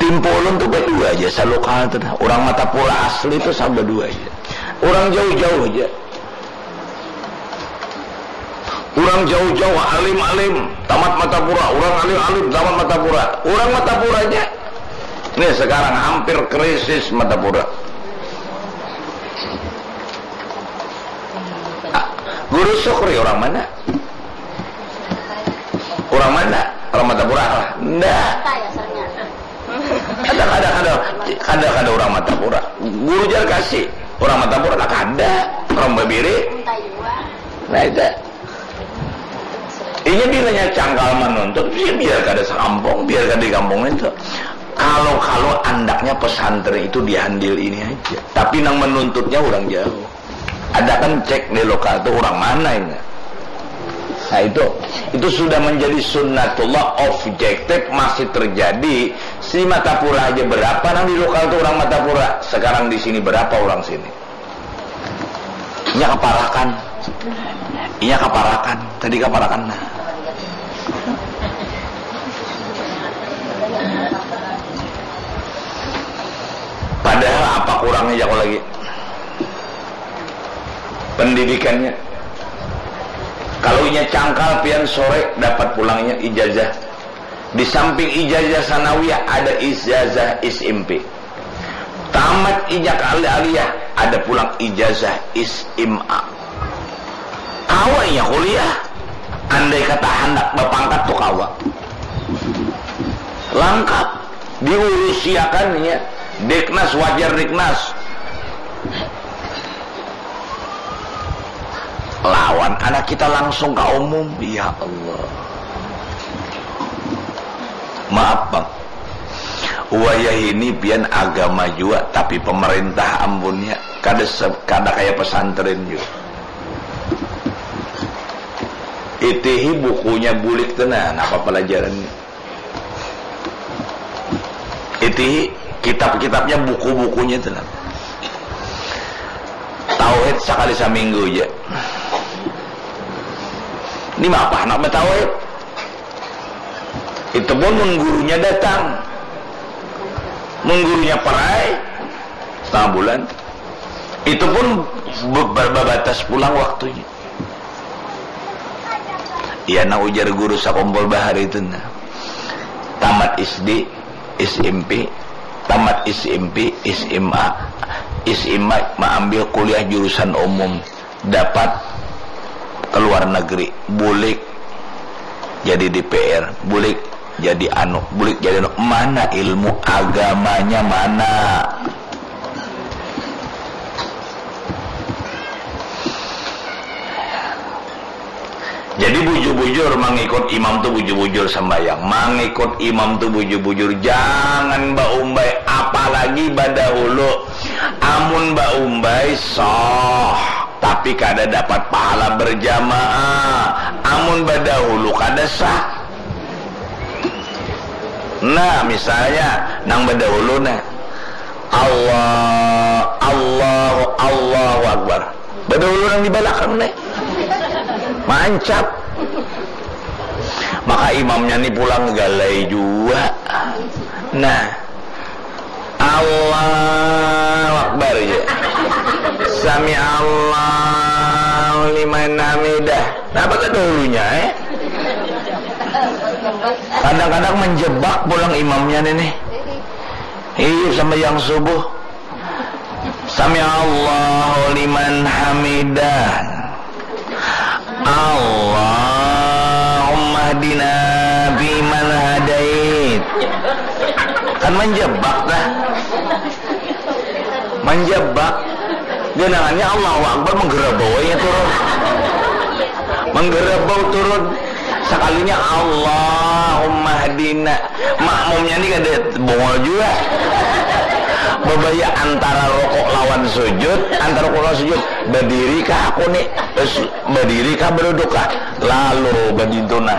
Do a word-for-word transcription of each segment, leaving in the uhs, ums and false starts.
Impulun tu badua aja, salokal tu nah. Urang Matapura asli tu sabadua aja. Urang jauh-jauh aja. Urang jauh-jauh, alim-alim, tamat Matapura. Urang alim-alim, tamat Matapura. Urang Matapura aja. Nih, sekarang hampir krisis Matapura. Ah, Guru Sukri orang mana? Orang mana? Orang Matapura lah. Ndak. Kada, kada, kada, kada, kada orang Matapura. Guru Jarkasi, orang Matapura lah kada. Orang Babiri. Nah, itu. Inya bilanya cangkal menuntut, ya biar kada sekampung, biar kada di kampung itu. Kalau, kalau andaknya pesantren itu di Handil ini aja. Tapi nang menuntutnya orang jauh. Ada kan cek di lokal tu orang mana ini. Nah, itu, itu sudah menjadi sunnatullah, objektif, masih terjadi. Si Matapura aja berapa nang di lokal tu orang Matapura. Sekarang di sini berapa orang sini? Inya kaparakan. Inya kaparakan. Tadi kaparakan nah. Padahal apa kurangnya, jaku lagi? Pendidikannya. Kalau inya cangkal, pian sore dapat pulangnya ijazah. Di samping ijazah sanawiyah, ada ijazah S M P. Tamat inya ka al-, aliyah, ada pulang ijazah S M A. Kawa inya kuliah. Andai kata handak bapangkat tu kawa. Langkap. Diurusiakan inya. Deknas, wajar Deknas. Lawan anak kita langsung ka umum. Ya Allah. Maaf, Bang. Wayah ini pian agama jua, tapi pemerintah, ampunnya, kada se-, kada kaya pesantren jua. Itihi bukunya bulik tu nah, napa pelajarannya. Itihi kitab-kitabnya, buku-bukunya tu nah. Tauhid sakali saminggu ja. Ini mapa handak batauhid? Itu pun mun gurunya datang. Mun gurunya perai, setengah bulan. Itu pun be-, be-, babatas pulang waktunya. Iya, nah, ujar guru sakumpul bahari itu, nah. Tamat S D, S M P, tamat S M P, S M A. S M A maambil kuliah jurusan umum, dapat ke luar negeri, bulik jadi D P R, bulik jadi anu, bulik jadi anu. Mana ilmu agamanya, mana? Jadi bujur-bujur mangikut imam tu, bujur-bujur sambayang. Mangikut imam tu bujur-bujur, jangan baumbai, apalagi badahulu. Amun baumbai sah, tapi kada dapat pahala berjamaah. Amun badahulu kada sah. Nah, misalnya nang badahulu nah, Allah, Allahu, Allahu Akbar. Badahulu nang di balakang nih. Mancap. Maka imamnya nih pulang galai jua. Nah. Allahu Akbar, ya. Sami Allahu liman hamidah. Napa badahulunya, eh? Kadang-kadang menjebak pulang imamnya nih, nih. Iya, sambayang subuh. Sami Allahu liman hamidah. Allahumma hdina fiman hadait. Kan manjebak dah. Manjebak. Ganangannya Allahu Akbar, menggerabau aja turun. Menggerabau turun. Sakalinya Allahumma hdina. Makmumnya ni kada bongol jua. Babaya antara rukuk lawan sujud, antara rukuk lawan sujud. Badiri kah aku ni? Terus badiri kah, baduduk kah? Lalu badintu nah.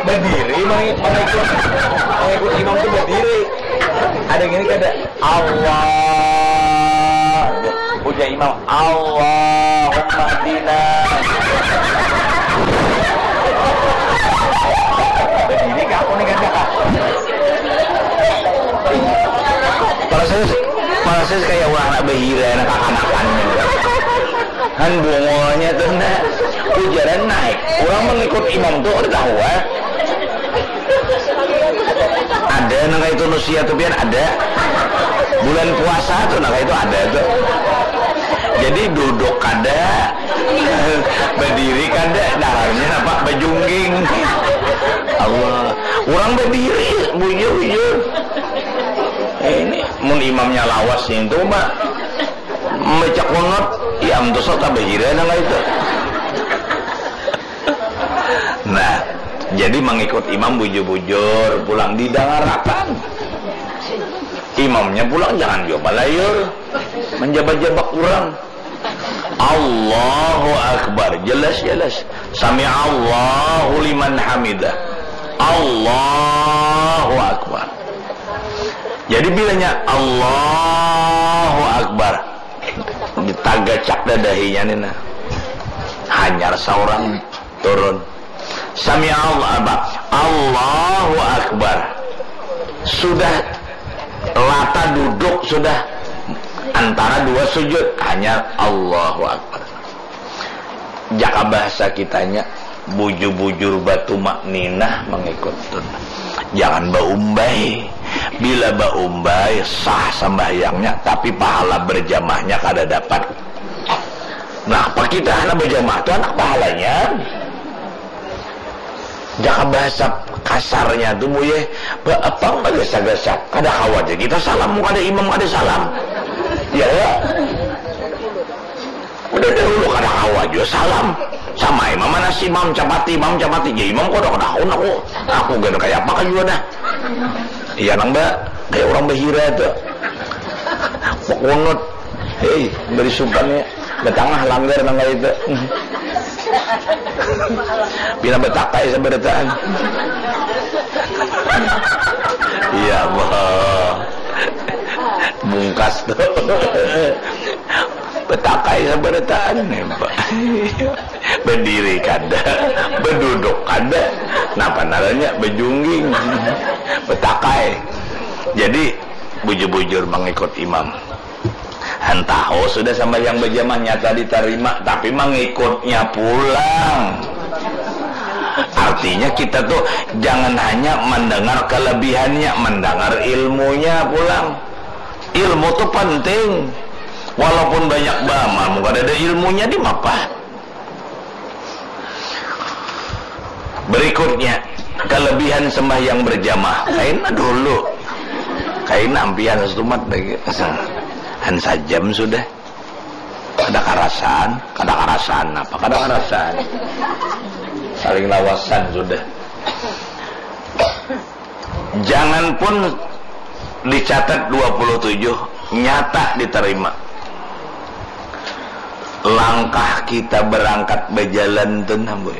Badiri, mangikut, mangikut imam tu badiri. Ada gini kada? Allah. Ujar imam, Allahumma hdina. An bungulnya tuh nah, ujaran naik. Orang mengikut imam tuh udah tahu ah. Ada nang itu nusia tuh pian ada. Bulan puasa tuh nang itu ada tuh. Jadi duduk kada, berdiri kada, dalamnya apa bejungging. Allah, orang berdiri bujur bujur. Eh, ini mun imamnya lawas itu mah Membaca kunut, ya antus tabahira nang itu. Nah, jadi mengikut imam bujur-bujur pulang didangarakan. Imamnya pulang jangan juga balayur menjabak-jabak kurang. Allahu Akbar, jelas-jelas. Sami Allahu liman hamidah. Allahu Akbar. Jadi bilanya Allahu Akbar, ditagacak dadahinya ni nah. Hanyar saurang turun. Sami Allah apa? Allahu Akbar. Sudah rata duduk sudah antara dua sujud, hanyar Allahu Akbar. Jaka bahasa kitanya, bujur-bujur batu makninah mengikut tun. Jangan baumbai. Bila baumbai sah sambahyangnya, tapi pahala berjamahnya kada dapat. Nah, apa kita anak berjamaah tuh anak pahalanya? Jaka bahasa kasarnya tuh muye, apa bagasa-gasa, kada khawatir kita salam, kada imam kada salam. Ya, ya. Udah dahulu kada kawa jua salam. Sama ai mamanas imam capati, imam capati ja imam kada kada haun aku. Aku gana kaya apa ka jua dah. Iya nang ba kaya urang bahira tu. Bakunut. Hei, bari supan ya. Batangah langgar nang kaya itu. Pina batakai sabarataan. Iya bah. Bungkas tu. Batakai sabarataan nih, Pak. Berdiri kada, beduduk kada. Napa narannya bejungging. Betakai. Jadi bujur-bujur mengikut imam. Hantaho sudah sambahyang berjamaah nyata ditarima, tapi mengikutnya pulang. Artinya kita tuh jangan hanya mendengar kelebihannya, mendengar ilmunya pulang. Ilmu tuh penting. Walaupun banyak bama, mun kada ada ilmunya di mapa? Berikutnya, kelebihan sembahyang berjamaah. Kaina dulu. Kaina ampihan setumat lagi. Han sajam sudah. Kada karasan, kada karasan apa? Kada karasan. Saling lawasan sudah. Jangan pun dicatat dua puluh tujuh, nyata diterima. Langkah kita berangkat berjalan tu nah boy.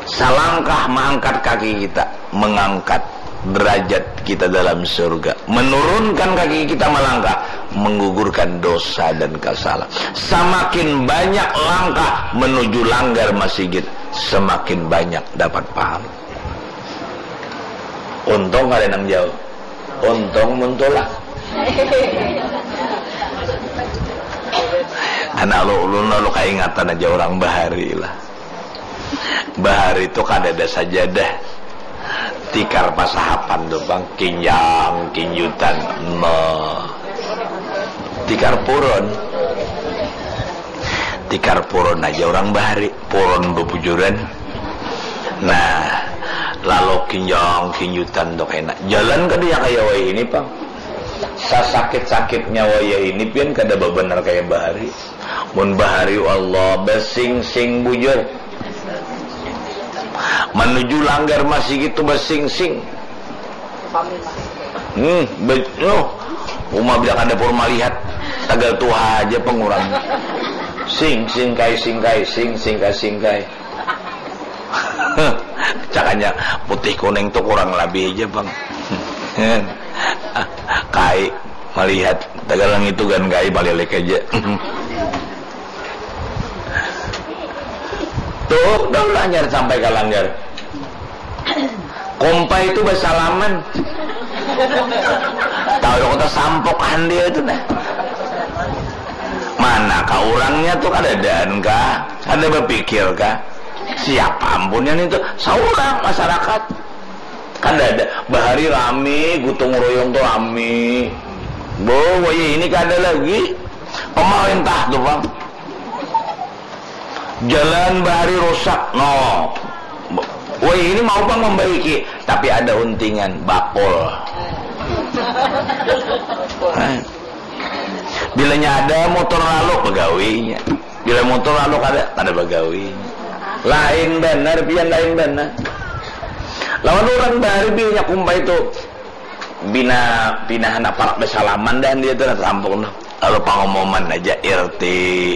Salangkah mengangkat kaki kita, mengangkat derajat kita dalam surga. Menurunkan kaki kita melangkah, menggugurkan dosa dan kesalahan. Semakin banyak langkah menuju langgar masigit, semakin banyak dapat pahala. Untung kada nang jauh. Untung mun tulak. Anak lu ulun lalu kaingatan aja orang bahari lah. Bahari tu kada ada sajadah. Tikar pasahapan tu bang, kinjang, kinjutan. Nah. Tikar purun. Tikar purun aja orang bahari. Purun bebujuran. Nah, lalu kinjang kinjutan tu kena jalan kada ya kaya wayah ini pang. Sasakit-sakitnya wayah ini pian kada babenar kaya bahari. Mun bahari Allah besingsing bujur. Menuju langgar masih gitu besingsing. Hmm, be- oh, uma bila kada pur malihat tagal tuha aja pengurang. Sing singkai singkai sing singkai singkai. Cakanya putih kuning tuh kurang lebih aja bang. Kai melihat tegalang itu kan kai balik aja. Tuh, dah lah nyari sampai ke langgar. Kompai itu bersalaman. Tahu lo kota sampok dia itu nah. Mana kah urangnya tuh, kadadaan kah? Kada bapikir kah? Siapa ampunnya nih tuh? Saurang masyarakat. Kadada. Bahari rami, gotong royong tuh rami. Bo, wayah ini kada lagi. Pemerintah tuh, Bang. Jalan bahari rusak, no. Wayah ini mau pang membaiki, tapi ada untingan, bakul. Hah? Bilanya ada motor lalu, bagawinya. Bila motor lalu kada, kada bagawinya. Lain banar, pian, lain banar. Lawan urang bahari bilanya kumpai tu. Bina, bina handak parak basalaman dah dia tu, nah, kampung tu. Lalu pangumuman aja R T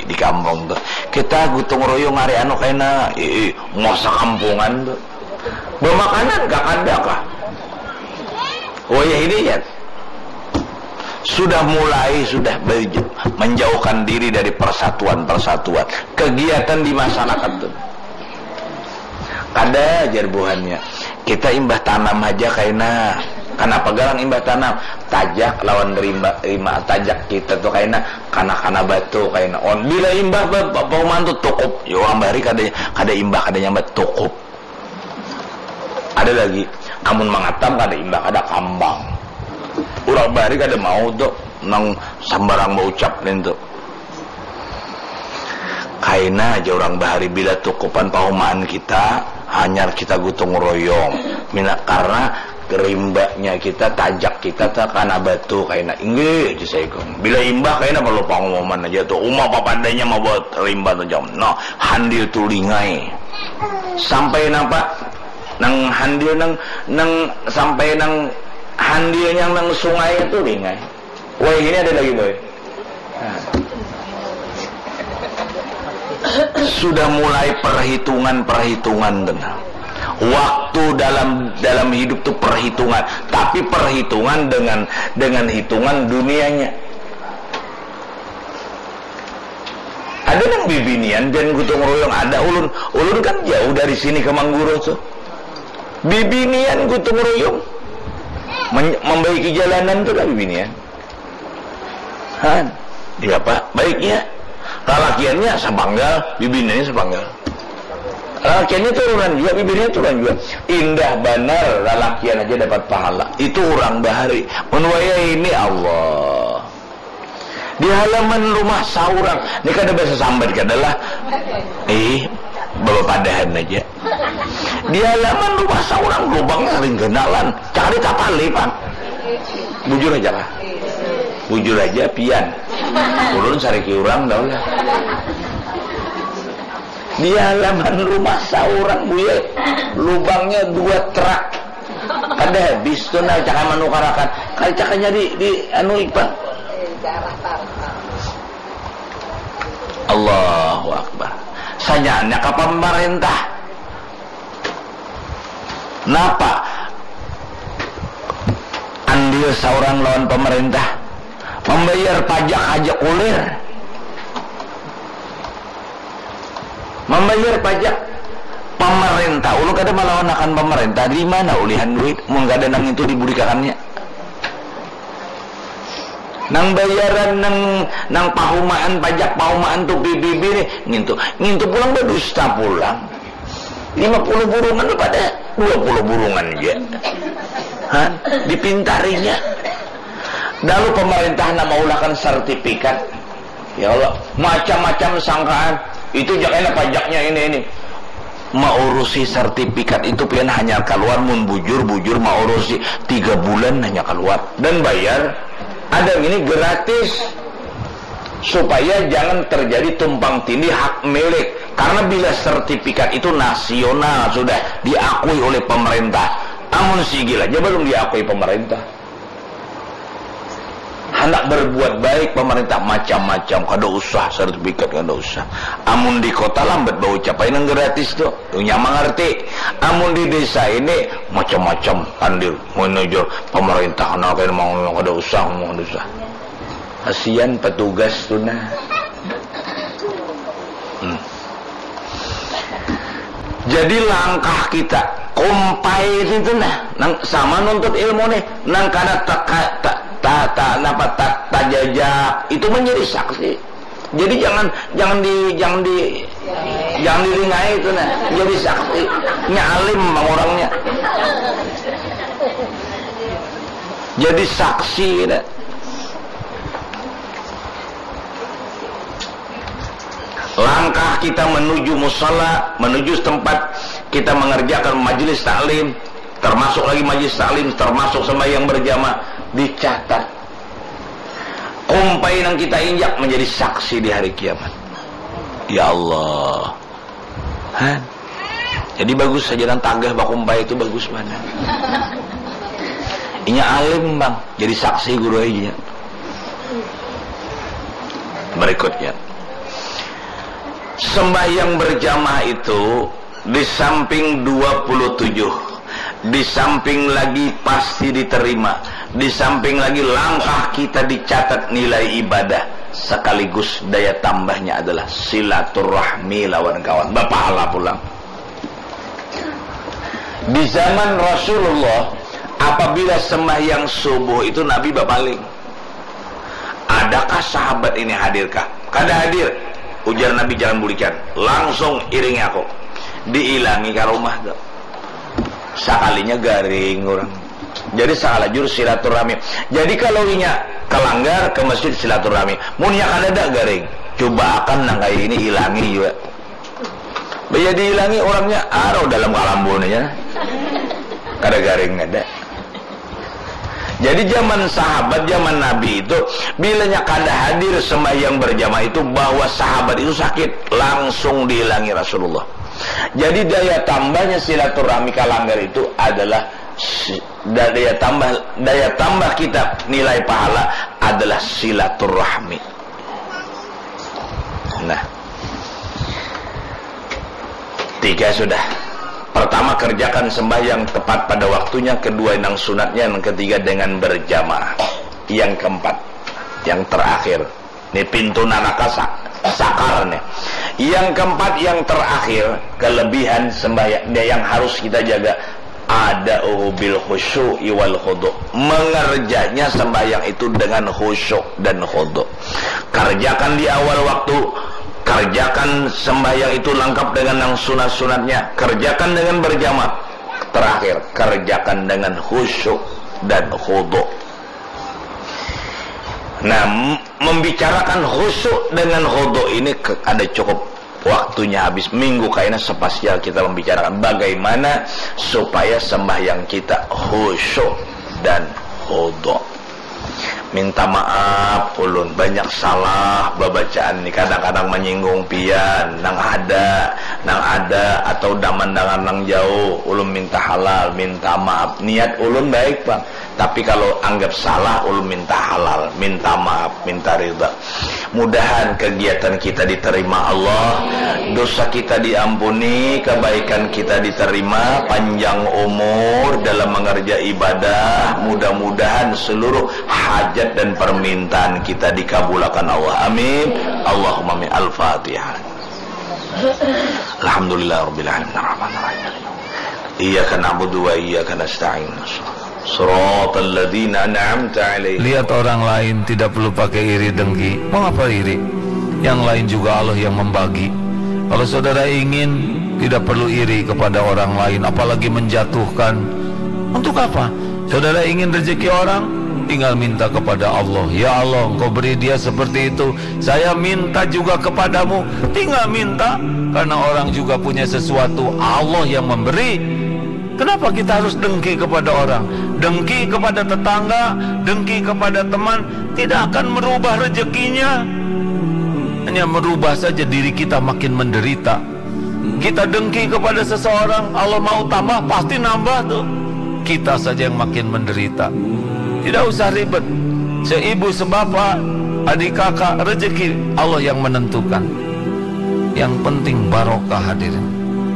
di kampung tu. Kita gotong royong hari anu kaina, ih, ih, muasa kampungan tu. Bamakanan kah, kada kah? Wayah ini ya. Sudah mulai, sudah berj-, menjauhkan diri dari persatuan-persatuan. Kegiatan di masyarakat tu. Kada, jar buhannya. Kita imbah tanam haja kaina. Kanapa garang imbah tanam? Tajak lawan rimba, rima, tajak kita tu kaina, kana-kana batu kaina. On, bila imbah ba-, ba-, pauman tu tukup. Ya, urang bahari kada, kada imbah, kada nyambat tukup. Ada lagi, amun mangatam kada imbah, kada kambang. Urang bahari kada mau tu, nang sambarang baucap nintu. Kaina aja urang bahari bila tukupan paumaan kita, hanyar kita gotong royong. Mina, karna rimbanya kita, tajak kita takana batu kaina. Inggih, aja saikung. Bila imbah kaina parlu pangumuman aja tu. Uma papadanya mambawa rimba tu jam. Nah, handil tu lingai. Sampai napa? Nang handil nang, nang sampai nang handil yang nang sungai tu lingai. Woi, ini ada lagi, boy. Nah. Sudah mulai perhitungan-perhitungan tu nah. Waktu dalam, dalam hidup tu perhitungan, tapi perhitungan dengan, dengan hitungan dunianya. Ada nang bibinian pian gotong royong, ada ulun, ulun kan jauh dari sini ke Mangguro tu. Bibinian gotong royong. Men-, membaiki jalanan tu lah bibinian. Han, iya, Pak. Baiknya, lalakiannya sapanggal, bibiniannya sapanggal. Lalakiannya turunan jua, bibiniannya turunan jua. Indah banar, lalakian aja dapat pahala. Itu urang bahari. Mun wayah ini, Allah. Di halaman rumah saurang. Ni kada basasambat kada lah. Ih, babapadahan aja. Di halaman rumah saurang lubangnya ring ganalan. Cakari tapali, Pang. Bujur aja kah? Bujur aja, pian. Ulun sariki urang, dah lah. Di halaman rumah saurang, buya, lubangnya dua terak. Kada habis tu nah, cakap manukarakan. Kada cakapnya di, di anu, Iqbal. Allahu Akbar. Sanyanya ka pamarintah. Napa andil saurang lawan pamarintah? Mambayar pajak haja kulir. Mambayar pajak pamarintah. Ulun kada malawanakan pamarintah. Di mana ulihan duit? Mun kada nang itu diburikakannya. Nang bayaran nang, nang pahumaan, pajak pahumaan tu P B B nih, ngintu. Ngintu pulang badusta pulang. Lima puluh burungan pada dua puluh burungan aja. Hah? Dipintarinya. Lalu pemerintah nak maulahkan sertifikat. Ya Allah, macam-macam sangkaan. Itu jak enak pajaknya ini, ini. Maurusi sertifikat itu pian hanya keluar mun bujur-bujur maurusi tiga bulan hanya keluar dan bayar. Ada yang ini gratis supaya jangan terjadi tumpang tindih hak milik. Karena bila sertifikat itu nasional sudah diakui oleh pemerintah, amun sigil aja belum diakui pemerintah. Handak berbuat baik pemerintah macam-macam, kada usah sertifikat, kada usah. Amun di kota lambat baucap ai nang gratis tu, inya mangarti. Amun di desa ini macam-macam, pandir, manajer, pemerintah, nah, kada mau, kada usah, kada usah. Kasian petugas tu nah. Hmm. Jadi langkah kita kumpai itu nah, nang sama nuntut ilmu nih, nang kada teka, ta, ta, ta, napa, ta, tajajak itu menjadi saksi. Jadi jangan, jangan di, jangan di, jangan dilingai itu nah. Jadi saksi, nya alim bang orangnya. Jadi saksi nah. Langkah kita menuju musala, menuju tempat kita mengerjakan majelis taklim, termasuk lagi majelis taklim, termasuk sembahyang berjamaah, dicatat. Kumpai nang kita injak menjadi saksi di hari kiamat. Ya Allah. Hah? Jadi bagus saja nang tagah bakumpai itu bagus mana. Inya alim bang, jadi saksi guru aja. Berikutnya, sembahyang berjamaah itu di samping dua puluh tujuh, di samping lagi pasti diterima, di samping lagi langkah kita dicatat nilai ibadah, sekaligus daya tambahnya adalah silaturahmi lawan kawan, bapahala pulang. Di zaman Rasulullah, apabila sembahyang subuh itu Nabi bapaling. Adakah sahabat ini hadirkah? Kada hadir. Ujar Nabi, jangan bulikan. Langsung iringi aku. Diilangi ka rumah tu. Sakalinya garing urang. Jadi salajur silaturahmi. Jadi kalau inya kalanggar ka masjid silaturahmi. Munnya kadada garing. Cubaakan nang kaya ini ilangi jua. Baya diilangi urangnya arau dalam kalambu nya. Kada garing kada. Jadi zaman sahabat, zaman Nabi itu, bilanya kada hadir sembahyang berjamaah itu, bahwa sahabat itu sakit, langsung diilangi Rasulullah. Jadi daya tambahnya silaturahmi kalanggar itu adalah si-, da-, daya tambah, daya tambah kita nilai pahala adalah silaturahmi. Nah, tiga sudah. Pertama, kerjakan sembahyang tepat pada waktunya. Kedua, nang sunatnya. Yang ketiga, dengan berjamaah. Yang keempat, yang terakhir. Ini pintu neraka sa-, sakar nih. Yang keempat, yang terakhir, kelebihan sembahyang yang harus kita jaga, ada'uhu bil khusyu'i wal khudu'. Mengerjanya sembahyang itu dengan khusyuk dan khudu'. Kerjakan di awal waktu, kerjakan sembahyang itu lengkap dengan yang sunat-sunatnya, kerjakan dengan berjamaah. Terakhir, kerjakan dengan khusyuk dan khudu'. Nah, m-, membicarakan khusyuk dengan khudu' ini ke-, ada cukup waktunya habis. Minggu kaina spasial kita membicarakan bagaimana supaya sembahyang kita khusyuk dan khudu'. Minta maaf ulun, banyak salah babacaan ni, kadang-kadang manyinggung pian, nang ada, nang ada atau daman dangan nang jauh, ulun minta halal, minta maaf. Niat ulun baik, Bang. Tapi kalau anggap salah, ulun minta halal, minta maaf, minta ridha. Mudahan kegiatan kita diterima Allah, dosa kita diampuni, kebaikan kita diterima, panjang umur dalam mengerja ibadah. Mudah-mudahan seluruh hajat dan permintaan kita dikabulakan Allah. Amin. Allahumma amin. Al-Fatihah. Alhamdulillah Rabbil Alamin. Ar-Rahman Ar-Rahim. Iyyaka na'budu wa iyyaka nasta'in. Siratal ladzina an'amta 'alaihim. Lihat orang lain, tidak perlu pakai iri dengki. Mau apa iri? Yang lain juga Allah yang membagi. Kalau saudara ingin, tidak perlu iri kepada orang lain, apalagi menjatuhkan. Untuk apa? Saudara ingin rezeki orang, tinggal minta kepada Allah. Ya Allah, Engkau beri dia seperti itu. Saya minta juga kepadamu. Tinggal minta, karena orang juga punya sesuatu. Allah yang memberi. Kenapa kita harus dengki kepada orang? Dengki kepada tetangga, dengki kepada teman, tidak akan merubah rezekinya. Hanya merubah saja diri kita makin menderita. Kita dengki kepada seseorang, Allah mau tambah, pasti nambah tuh. Kita saja yang makin menderita. Tidak usah ribet. Seibu, sebapak, adik kakak, rezeki Allah yang menentukan. Yang penting barokah, hadirin.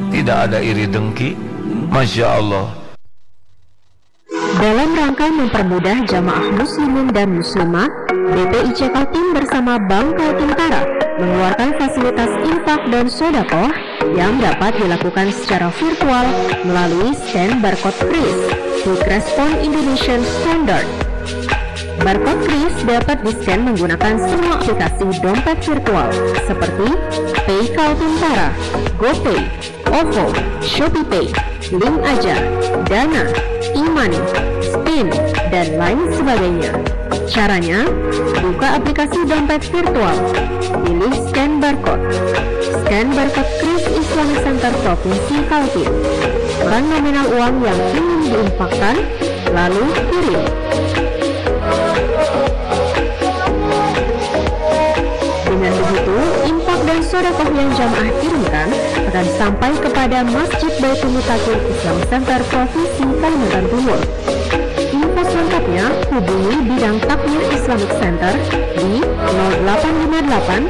Tidak ada iri dengki. Masya Allah. Dalam rangka mempermudah jamaah muslimin dan muslimah, B P I C Kaltim bersama Bank Kaltim Tara mengeluarkan fasilitas infak dan sodakoh yang dapat dilakukan secara virtual melalui scan barcode kris, Quick Response Indonesian Standard. Barcode kris dapat di-scan menggunakan semua aplikasi dompet virtual seperti Pay Kaltim Para, GoPay, OVO, ShopeePay, Link Aja, Dana, e-money, Spin, dan lain sebagainya. Caranya, buka aplikasi dompet virtual, pilih scan barcode. Scan barcode kris Islamic Center Provinsi Kaltim. Tekan nominal uang yang ingin diinfakkan, lalu kirim. Dengan begitu, infak dan sodakoh yang jamaah kirimkan akan sampai kepada Masjid Baitul Mutakin Islamic Center Provinsi Kalimantan Timur. Info selengkapnya hubungi bidang takmir Islamic Center di nol delapan lima delapan